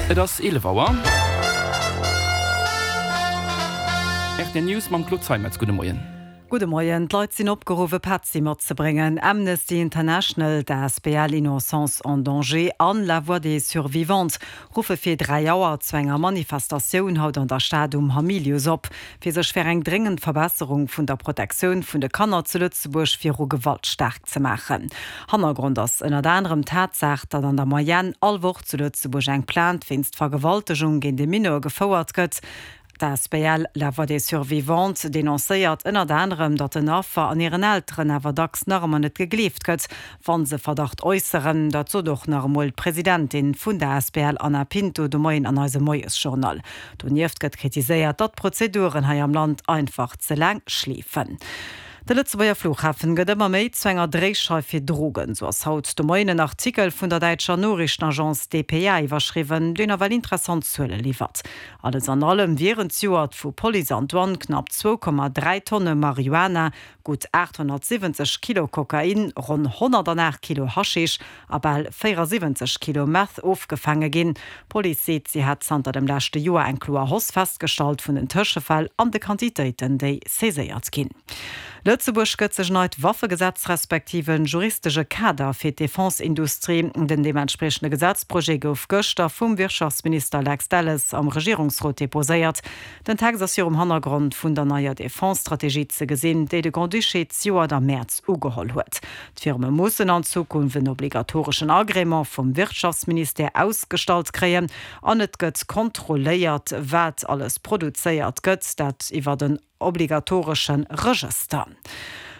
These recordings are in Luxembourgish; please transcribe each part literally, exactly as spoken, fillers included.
Et ass eelef Auer. Rtl News mam Claude Zeimetz. Gudde Moien. Gudde Moien. D'Leit sinn opgeruff e Petzi matzebréngen. Amnesty International, d'Asbl Innocence en danger an La Voix des Survivantes ruffe fir dräi Auer zu enger Manifestatioun haut an der Stad um Hamilius op, fir sech fir eng dréngend Verbesserung vun der Protektioun vun de Kanner zu Lëtzebuerg viru Gewalt staark ze maachen. Hannergrond ass ënnert anerem d'Tatsaach, datt an der Moyenne all Woch zu Lëtzebuerg eng Plainte wéinst Vergewaltegung géint e Mineur gefouert gëtt. D'Asbl La Voix des Survivantes denoncéiert ënnert anerem, datt den Affer an hiren Elteren awer dacks nach ëmmer net gegleeft gëtt, wa se Verdacht äusseren. Dat sot och nach emol d'Presidentin vun der Asbl Ana Pinto de Moien an eisem Moiesjournal. Donieft gëtt kritiséiert, datt d'Prozeduren hei am Land einfach ze laang schleefen. De Lëtzebuerger Flughafen gëtt ëmmer méi zu enger Dréischeif fir Drogen. Sou ass haut de Moien en Artikel vun der däitscher Noriichtenagence dpa iwwerschriwwen, deen nawell interessant Zuele liwwert. Alles an allem wieren zejoert vu Police an Douane knapp zwou Komma dräi Tonne Marihuana, gutt aathonnertsiwwenzeg Kilo Kokain, ronn honnertanaacht Kilo Haschisch a bal véierasiwwenzeg Kilo Meth ofgefaange ginn. D'Police seet, si hätt zanter dem leschte Joer eng kloer Hausse festgestallt vun den Tëschefäll an de Quantitéiten, déi saiséiert ginn. Lëtzebuerg gëtt sech neit Waffegesetz respektiv en juristesche Kader fir d'Defense-Industrie. Den deementspriechende Gesetzprojet gouf gëschter vum Wirtschaftsminister Lex Delles am Regierungsrot deposéiert. Den Text ass virum Hannergrond vun der neier Defense-Strategie ze gesinn, déi de Grand-Duché zejoert am Mäerz ugeholl huet. D'Firme mussen an Zukunft en obligatoreschen Agrément vum Wirtschaftsministère ausgestallt kréien an et gëtt kontrolléiert, wat alles produzéiert gëtt, dat iwwert en obligatoresche Regëster.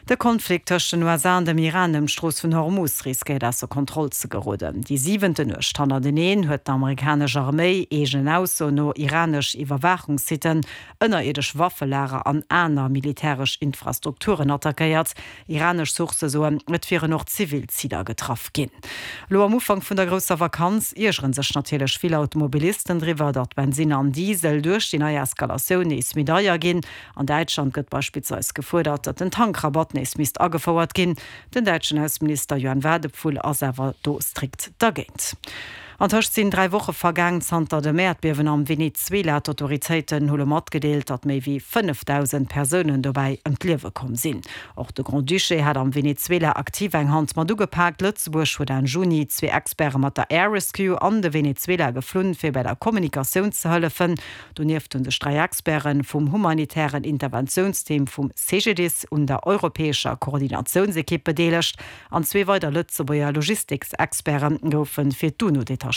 De Konflikt tëscht den U S A an dem Iran ëm d'Strooss vun Hormuz riskéiert ausser Kontroll ze geroden. Déi siwente Nuecht hannerteneen huet d'amerikanesch Arméi eegenen Aussoen no iranesch Iwwerwaachungssitten, ënnerierdesch Waffelager an aner militäresch Infrastrukturen attackéiert. Iranesch Sourcë soen, et wieren och zivil Ziler getraff ginn. Elo am Ufank vun der grousser Vakanz iergere sech natierlech vill Automobilisten driwwer, datt Bensinn an Diesel duerch déi nei Eskalatioun nees méi deier ginn. An Däitschland gëtt beispillsweis gefuerdert, datt den Tankrabatt nees misst agefouert ginn. Den däitschen Ausseminister Johann Wadephul ass awer do strikt dergéint. Antëscht sinn dräi Woche vergaang zanter dem Äerdbiewen am Venezuela. D'Autoritéiten hu lo matgedeelt, datt méi wéi fënnefdausend Persounen dobäi ëm d'Liewe komm sinn. Och de Grand-Duché hat am Venezuela aktiv eng Hand mat ugepaakt. Lëtzebuerg huet Enn Juni zwee Experte mat der Air Rescue an de Venezuela geflunn, fir bei der Kommunikatioun ze hëllefen. Donieft hunn sech dräi Experte vum humanitären Interventiounsteam vum C G D I S un der europäescher Koordinatiounsekipp bedeelegt. An zwee weider Lëtzebuerger Logistiksexperte goufe fir d'UNO detachéiert.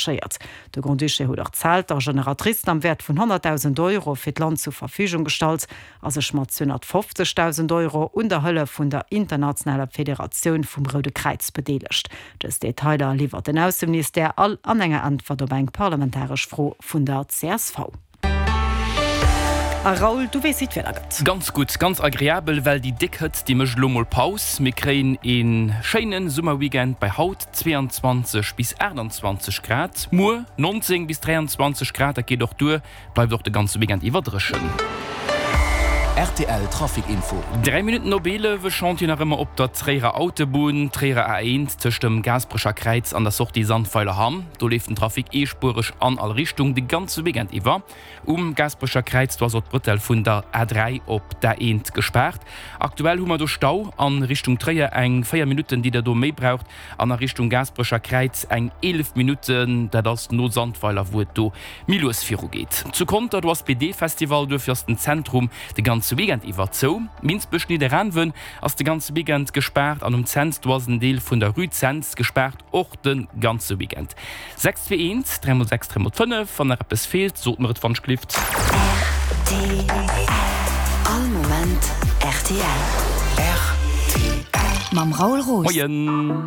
De Grand-Duché huet och Zelter a Generatricen am Wäert vun honnertdausend Euro fir d'Land zur Verfügung gestallt a sech mat zweehonnertfofzegdausend Euro un der Hëllef vun der Internationaler Federatioun vum Roude Kräiz bedeelegt. Dës Detailer liwwert den Ausseministère all an enger Äntwert op eng parlamentaresch Fro vun der C S V. A Raoul, du weess, wéi d'Wieder gëtt. Ganz gutt, ganz agreabel, well déi déck Hëtzt, déi mécht elo mol Paus. Mir kréien ee schéine Summerweekend bei haut zweeanzwanzeg bis aachtanzwanzeg Grad, muer nonzéng bis dräianzwanzeg Grad. Dat geet och duer, bleift och de ganze Weekend iwwer dréchen. R T L Trafic Info. Dräi Minutten op eelef, e Chantier nach ëmmer op der Tréierer Autobunn, Tréierer A eent, tëscht dem Gaasperecher Kräiz an der Sortie Sandweiler-Hamm. Do leeft den Trafic eespuereg an all Richtung de ganze Weekend iwwer. Um Gaasperecher Kräiz, do ass och d'Bretelle vun der A dräi op d'A eent gespaart. Aktuell hu mer do Stau an Richtung Tréier eng véier Minutten, déi der do méi braucht, an a Richtung Gaasperecher Kräiz eng eelef Minutten, dat ass no Sandweiler, wou et do méi lues virugeet. Zu Conter, do ass B D-Festival, duerfir ass den Zentrum de ganze Weekend iwwer zou. Minsbech-Nidderaanwen ass de ganze Weekend gespaart an um Cents, do ass en Deel vun der Rue Cents gespaart, och de ganze Weekend. Sechs zwee eent, dräi mol sechs, dräi mol fënnef, wann nach eppes feelt, sot mer et wann ech glift. R T L. All Moment R T L. R T L. Mam Raoul Roos. Moien.